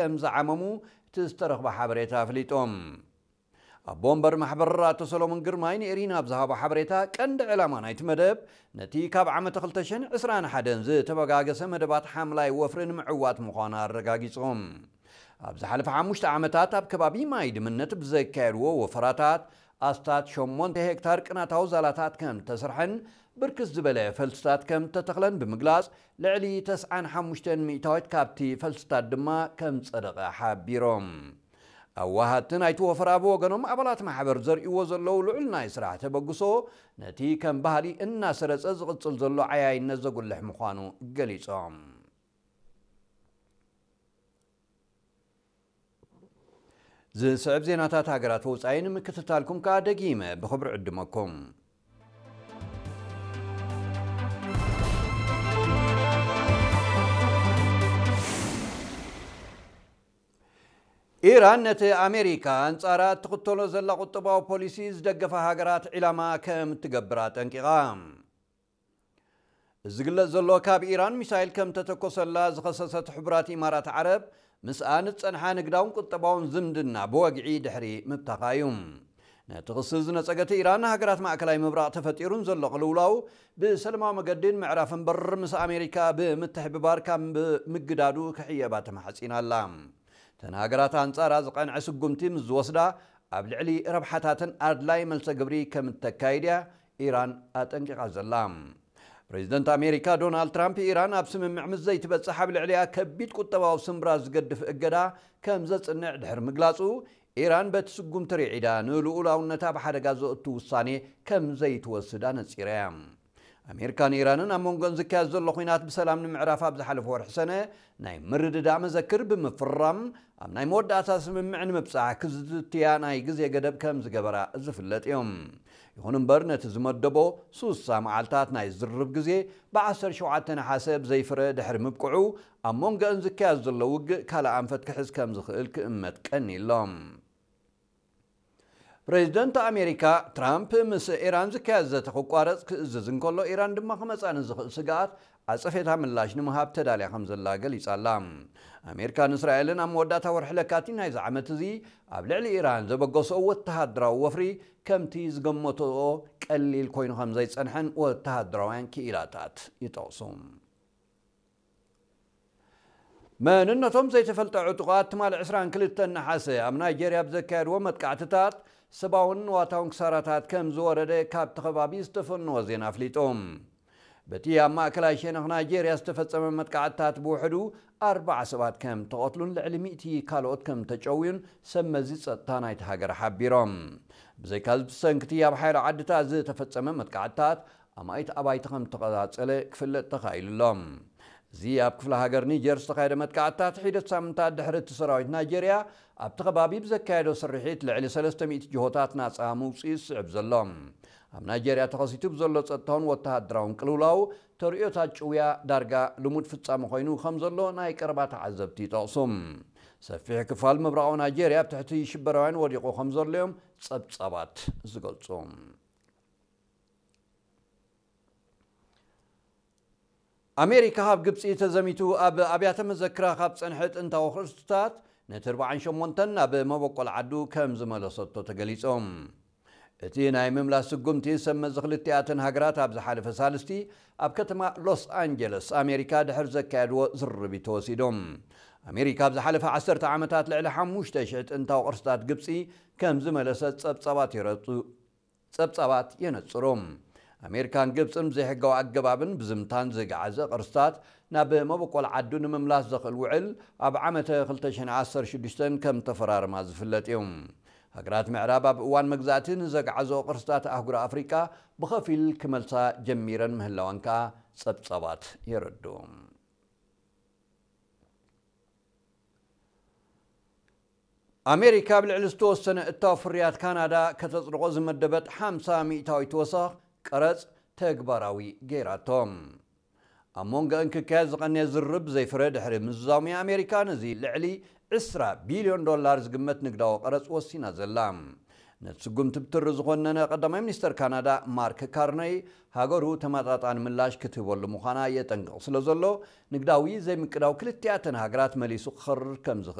ከም ዝዓመሙ እቲ ዝተረኽበ ሓበሬታ ኣፍሊጦም። ኣቦ ወንበር ማሕበር ኣቶ ሰሎሞን ግርማይ ንኤሪና ኣብ ዝሃቦ ሓበሬታ፣ ቀንዲ ዕላማ ናይቲ መደብ ነቲ ካብ ዓመተ ክልተ ሽሕን ዕስራን ሓደን ዝተበጋገሰ መደባት ሓምላይ ወፍሪ ንምዕዋት ምዃኑ ኣረጋጊጾም። ኣብ ዝሓለፈ ሓሙሽተ ዓመታት ኣብ ከባቢ ማይ ድምነት ብዘካየድዎ ወፈራታት፣ ኣስታት ሸሞንተ ሄክታር ቅናታዊ ዛላታት ከም ተሰርሐን ብርክት ዝበለ ፈልስታት ከም ተተኽለን ብምግላጽ፣ ልዕሊ ተስዓን ሓሙሽተን ሚእታዊት ካብቲ ፈልስታት ድማ ከም ጸደቐ ሓቢሮም። ኣዋሃድቲ ናይቲ ወፈራ ብወገኖም፣ ኣባላት ማሕበር ዘርእይዎ ዘለዉ ልዑል ናይ ስራሕ ተበግሶ፣ ነቲ ከም ባህሊ እናሰረጸ ዝቕጽል ዘሎ ዓያይነት ዘጉልሕ ምዃኑ ገሊጾም። ዝስዕብ ዜናታት ሃገራት ወጻኢ ንምክትታልኩም ከኣ ደጊመ ብኽብሪ ዕድመኩም። ኢራን ነቲ ኣሜሪካ ኣንጻራ እትኽተሎ ዘላ ቁጠባዊ ፖሊሲ ዝደገፋ ሃገራት ዒላማ ከም እትገብር ኣጠንቂቓ። እዚ ዝግለጽ ዘሎ፣ ካብ ኢራን ሚሳይል ከም ተተኮሰላ ዝኸሰሰት ሕቡራት ኢማራት ዓረብ፣ ምስኣን ዝጸንሓ ንግዳውን ቁጠባውን ዝምድና ብወግዒ ድሕሪ ምብታኻ እዩ። ነቲ ክሲ ዝነጸገት ኢራን፣ ሃገራት ማእከላይ ምብራቕ ተፈጢሩን ዘሎ ቅልውላው ብሰላማዊ መገዲ ንምዕራፍ እምበር፣ ምስ ኣሜሪካ ብምትሕብባር ካብ ምግዳዱ ክሕየባ ተማሕጺና ኣላ። እተን ሃገራት ኣንጻራ ዝቐንዐ ስጉምቲ ምስ ዝወስዳ፣ ኣብ ልዕሊ ረብሓታተን ኣድላይ መልሰ ግብሪ ከም እተካይድ እያ ኢራን ኣጠንቂቓ ዘላ። ፕሬዚደንት ኣሜሪካ ዶናልድ ትራምፕ፣ ኢራን ኣብ ስምምዕ ምስ ዘይትበጽሕ ኣብ ልዕሊኣ ከቢድ ቁጠባዊ ስምብራት ዝገድፍ እገዳ ከም ዘጽንዕ ድሕሪ ምግላጹ፣ ኢራን በቲ ስጉምቲ ርዒዳ ንልኡላውነታ ኣብ ሓደጋ ዘእቱ ውሳኔ ከም ዘይትወስድ ኣነጺራ እያ። ኣሜሪካን ኢራንን ኣብ መንጎን ዝካየድ ዘሎ ኲናት ብሰላም ንምዕራፍ ኣብ ዝሓለፈ ወርሒ ሰነ ናይ ምርድዳእ መዘክር ብምፍራም፣ ኣብ ናይ መወዳእታ ስምምዕ ንምብጻሕ ክዝትያ ናይ ግዜ ገደብ ከም ዝገበራ ዝፍለጥ እዩ። ይኹን እምበር፣ ነቲ ዝመደቦ ሱሳ መዓልታት ናይ ዝርርብ ግዜ ብ ዓሰርተ ሸውዓተ ነሓሰ ብዘይፍረ ድሕሪ ምብቅዑ፣ ኣብ መንጎአን ዝካየድ ዘሎ ውግእ ካልእ ኣንፈት ክሕዝ ከም ዝኽእል ክእመት ቀንዩ ኣሎ። ፕሬዚደንት ኣሜሪካ ትራምፕ ምስ ኢራን ዝካየድ ዘተ ክቋረጽ ክእዝዝ እንከሎ፣ ኢራን ድማ ክመጽኣ ንዝኽእል ስግኣት ዓጸፌታ ምላሽ ንምሃብ ተዳልያ ከም ዘላ ገሊጻ ኣላ። ኣሜሪካን እስራኤልን ኣብ መወዳእታ ወርሒ ለካቲት ናይዚ ዓመት እዚ ኣብ ልዕሊ ኢራን ዘበገሰኦ ወተሃደራዊ ወፍሪ ከምቲ ዝገመተኦ ቀሊል ኮይኑ ከም ዘይጸንሐን ወተሃደራውያን ክኢላታት ይጠቕሱ። መንነቶም ዘይተፈልጠ ዕጡቓት ትማሊ ዕስራን ክልተን ነሓሰ ኣብ ናይጄርያ ብዘካየድዎ መጥቃዕትታት፣ ሰብኣውን ንዋታውን ክሳራታት ከም ዝወረደ ካብቲ ከባቢ ዝተፈነወ ዜና ኣፍሊጡ። በቲ ኣብ ማእከላይ ሸነኽ ናይጄርያ ዝተፈጸመ መጥቃዕትታት ብውሕዱ ኣርባዓ ሰባት ከም ተቐትሉን ልዕሊ ሚእቲ ካልኦት ከም ተጨውዩን ሰብ መዚ ጸጥታ ናይቲ ሃገር ሓቢሮም። ብዘይካዚ፣ ብሰንክቲ ኣብ ሓያሎ ዓድታት ዝተፈጸመ መጥቃዕትታት፣ ኣማኢት ኣባይቲ ከም ተቐጻጸለ ክፍለጥ ተኻኢሉ ኣሎ። እዚ ኣብ ክፍለ ሃገር ኒጀር ዝተኻየደ መጥቃዕትታት፣ ሒደት ሳምንታት ድሕሪ እቲ ሰራዊት ናይጄርያ ኣብቲ ከባቢ ብዘካየዶ ስርሒት፣ ልዕሊ ሰለስተ ሚእቲ ጅሆታት ናጻ ምውጽኡ ዝስዕብ ዘሎ። ኣብ ናይጄርያ ተኸሲቱ ብዘሎ ጸጥታውን ወተሃደራውን ቅልውላው፣ ተርእዮታት ጭውያ ዳርጋ ልሙድ ፍጻመ ኮይኑ ከም ዘሎ ናይ ቀረባ ተዓዘብቲ ይጠቕሱ። ሰፊሕ ክፋል ምብራቓዊ ናይጄርያ ኣብ ትሕቲ ሽበራውያን ወዲቑ ከም ዘሎ እዮም ጸብጻባት ዝገልጹ። ኣሜሪካ፣ ካብ ግብጺ ተዘሚቱ ኣብ ኣብያተ መዘክራ ካብ ጸንሐ ጥንታዊ ቅርስታት ነቲ ኣርባዓን ሸሞንተን ናብ መበቆል ዓዱ ከም ዝመለሰቶ ተገሊጾም። እቲ ናይ ምምላስ ስጉምቲ፣ ሰብ መዚ ክልቲኣተን ሃገራት ኣብ ዝሓለፈ ሳልስቲ ኣብ ከተማ ሎስ ኣንጀለስ ኣሜሪካ ድሕሪ ዘካየድዎ ዝርርብ እዩ ተወሲዶም። ኣሜሪካ ኣብ ዝሓለፈ ዓሰርተ ዓመታት ልዕሊ ሓሙሽተ ሽሕ ጥንታዊ ቅርስታት ግብጺ ከም ዝመለሰት ጸብጻባት የረጹ ጸብጻባት የነጽሩ። ኣሜሪካን ግብጽን ብዘይሕጋዊ ኣገባብን ብዝምታን ዝገዓዘ ቅርስታት ናብ መበቆል ዓዱ ንምምላስ ዘኽእል ውዕል ኣብ ዓመተ ክልተ ሽሕን ዓሰርተ ሽዱሽተን ከም ተፈራርማ ዝፍለጥ እዩ። ሃገራት ምዕራብ ኣብ እዋን መግዛእቲ ንዘግዓዘኦ ቅርስታት ኣህጉር ኣፍሪቃ ብኸፊል ክመልሳ ጀሚረን ምህላወን ከኣ ጸብጻባት የረድኡ። ኣሜሪካ ኣብ ልዕሊ ዝተወሰነ እታው ፍርያት ካናዳ ከተጽድቖ ዝመደበት ሓምሳ ሚእታዊት ወሰኽ ቀረጽ ተግባራዊ ገይራቶ። ኣብ መንጎ እንክካየድ ዝቐነየ ዝርርብ ዘይፍረ ድሕሪ ምዝዛሙ፣ ኣሜሪካ ነዚ ልዕሊ ዕስራ ቢልዮን ዶላር ዝግመት ንግዳዊ ቀረጽ ወሲና ዘላ። ነቲ ስጉምቲ ብትሪ ዝኾነነ ቀዳማይ ሚኒስተር ካናዳ ማርክ ካርነይ፣ ሃገሩ ተመጣጣኒ ምላሽ ክትህበሉ ምዃና የጠንቅቕ ስለ ዘሎ፣ ንግዳዊ ዘይምቅዳው ክልቲኣተን ሃገራት መሊሱ ክኸርር ከም ዝኽእል